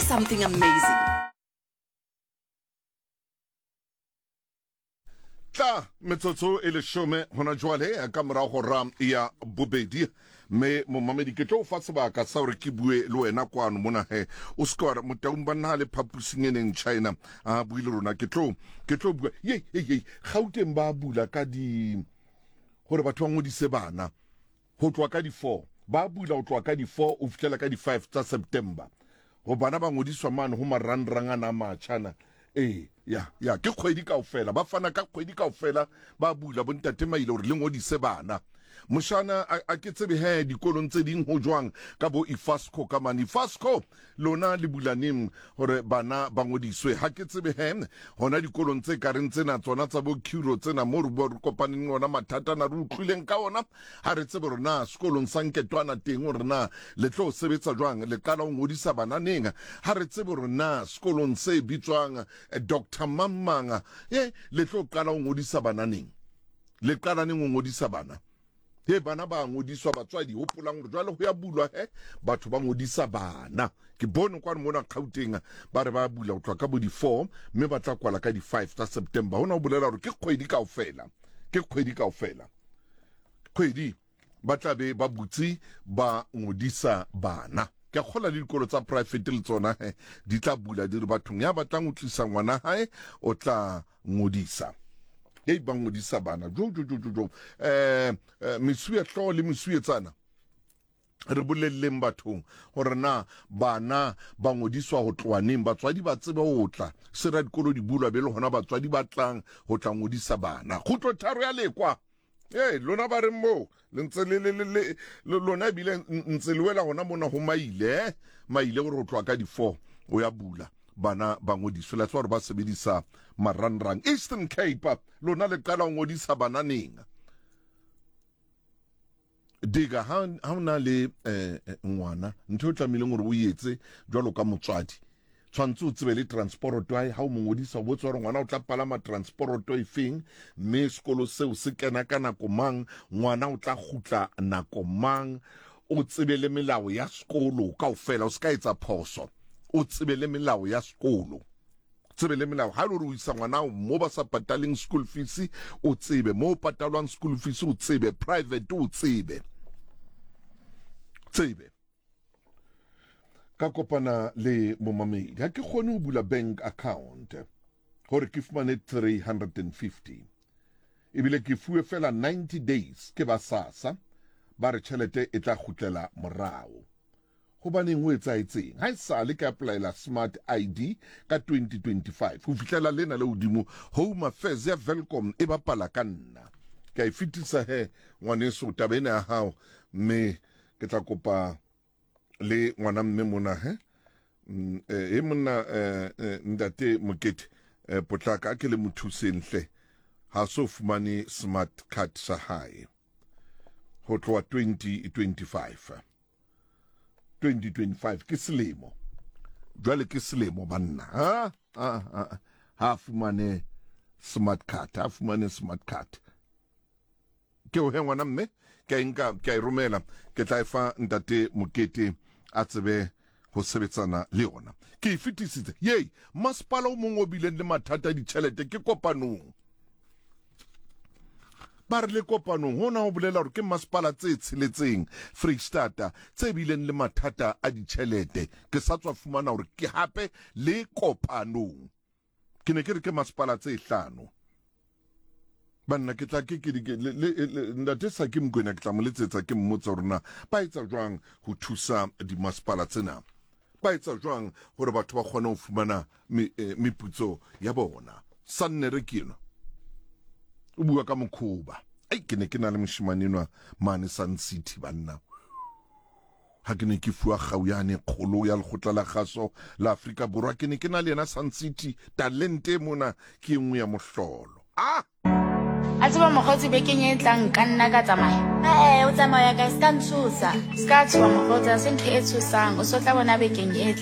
something amazing. Tla metsotso e leshome hona jwale ka morago hora ya bobedi mme momamedi ke tlo o fa sebaka sa gore ke bue le wena kwano mona he o se ke wa re motaung ba nna le phapusing e neng china a bue le rona ke tlo ke tlo bua ye ye ye gauteng ba bula ka di gore batho ba ngodise bana Ho tloha ka di-four, ba bula ho tloha ka di-four ho fihlela ka di-five tsa September. Ho bana ba ngodiswa mane ho marangrang ana a matjha ana. Ee, ya, ya, ke kgwedi kaofela. Ba fana ka kgwedi kaofela, ba bula bontate Maile hore le ngodise bana. Moshana, a, a ke tsebe he dikolong tse ding ho jwang ka bo Ifasco ka mane. Ifasco, Lona le bula neng hore bana ba ngodiswe? Ha ke tsebe he, hona dikolong tse ka reng tsena tsona tsa bo Curo tsena moo re bua re kopaneng le ona mathata ana re utlwileng ka ona, ha re tsebe hore na sekolong sa Nketwana teng hore na le tlo sebetsa jwang, le qala ho ngodisa bana neng. Ha re tsebe hore na sekolong se bitswang Doctor mang mang, e le tlo qala ho ngodisa bana neng. Le qala neng ho ngodisa bana? He bana ba ngodiswa batswadi hopolang hore jwale ho ya bulwa he batho ba ngodisa bana ke bone kwano mona Gauteng ba re ba bula ho tloha ka bo di-four mme ba tla kwala ka di-five tsa September hona ho bolela hore ke kgwedi kaofela ke kgwedi kaofela kgwedi ba tla be ba butse ba ngodisa bana ke a kgola le dikolo tsa private le tsona he di tla bula di re bathong ya batlang ho tlisa ngwana hae o tla ngodisa hei ba ngodisa bana jo jo jo jo jo eh, eh mesuwe hlooho le mesuwetsana re bolelleng bathong gore na bana ba ngodiswa ho tloha neng batswadi ba tsebe ho tla sera dikolo di bulwa be le gona batswadi ba tlang ho tla ngodisa bana kgutlo tharo ya lekwa ee lona ba reng moo le ntse le le le le lona ebile ntse le wela gona mona go maile eh? maile gore o tloa ka di-four o ya bula bana ba ngodiswe la tseba gore ba sebedisa marangrang eastern cape lona le qala ho ngodisa bana neng diga ha o na le eh, eh, ngwana ntho e tlamehileng gore o etse jwalo ka motswadi tshwanetse o tsebe le transporoto hae ha o mo ngodisa o botse gore ngwana o tla palama transporoto e feng mme sekolo seo se kena ka nako mang ngwana o tla kgutla nako mang o tsebe le melao ya sekolo kaofela o se ka etsa phoso o tsebe le melao ya sekolo tsebe le melao ha e le gore o isa ngwana mo ba sa pataleng school fees o tsebe mo o patalwang school fees o tsebe private o tsebe tsebe ka kopana le momamedi ha ke kgone ho bula bank account gore ke fumane 350 ebile ke fuwe fela 90 days ke ba sasa ba re tšhelete e tla kgutlela morao gobaneng ho etsaetseng ha e sale ke applyela smart id ka 2025 ho fihlela lena le hodimo home affairs ya velcom e bapala ka nna ke a e fetisa he ngwaneso taba ena ya hao mme ke tla kopa le ngwana mme mona he mm, eh, e monna eh, eh, ntate mokete potlaka a ke le mo thuseng hle ha so fumane smart card sa hae ho tloha 2025 2025 ke selemo jwale ke selemo banna ha ha ha fumane smart card ha fumane smart card ke o he ngwana mme ke a e nka ke a e romela ke tla e fa ntate mokete a tsebe ho sebetsana le yona ke e fetisitse yei masepala o mongwe o bileng le mathata a ditšhelete ke kopanong ba re le kopanong hona ho bolela gore ke masepala tse tsheletseng freistata tse bileng le mathata a ditšhelete ke sa tswa fumana gore ke hape le kopanong ke ne ke re ke masepala tse hlano banna ke tla ke ke ntate sa ke mokwena ke tla mo letsetsa ke mmotsa gore na ba etsa jwang ho thusa dimasepala tsena ba etsa jwang gore batho ba kgone ho fumana eh, meputso ya bona sannere ke enwa o bua ka mokhoba ai ke ne ke na le moshimane enwa mane sun city banna Ha ke ne ke fuwa kgau yane kgolo ya lekgotla la kgaso la Afrika Borwa, ke ne ke na le yena Sun City. Talente e mona ke e nngwe ya mohlolo. Ah! A tseba mokgotsi bekeng e tlang nka nna ka tsamaya. Ee, o tsamaya kae? Se ka ntshosa. Se ka tshoha mokgotsi, ha se ntho e tshosang. O so tla bona bekeng e tlang.